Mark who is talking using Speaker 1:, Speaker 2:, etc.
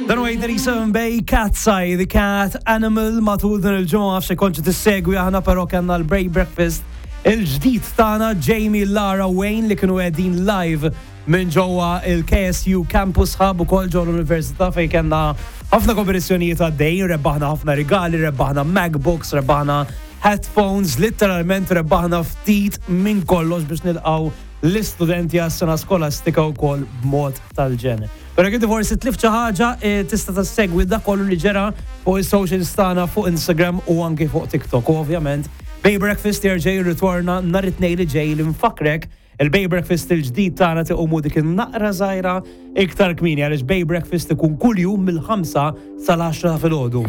Speaker 1: Dan huwa 837 Bay Cat's Eye, The Cat Animal matul din il-ġimgħa f'xi konċi tissegwi aħna però kellna l-Break Breakfast il-ġdid tagħna Jamie Lara Wayne li kienu qegħdin live minn ġewwa il-KSU Campus Hub ukoll ġewwa l-Università fejn kellna ħafna kompetizzjonijiet għaddejjin, rebbaħna ħafna rigali, rebbaħna MacBooks, rebbaħna headphones, literalment rebbaħna ftit minn kollox biex nilqgħu l-istudenti għas-sena skolastika wkoll b'mod tal-ġen. Però jekk inti forsi tlift xi ħaġa, eh, tista' tassegwi dak kollu li ġera fuq is-socials tagħna fuq Instagram u anke fuq TikTok. U ovvjament, Bay Breakfast jerġa' jirritorna nhar it-Tnejn li ġej li nfakkrek il-Bay Breakfast il-ġdid tagħna tiqumu dik in-naqra żgħira iktar kmieni għaliex Bay Breakfast ikun kuljum mill-5 sal-10 filgħodu.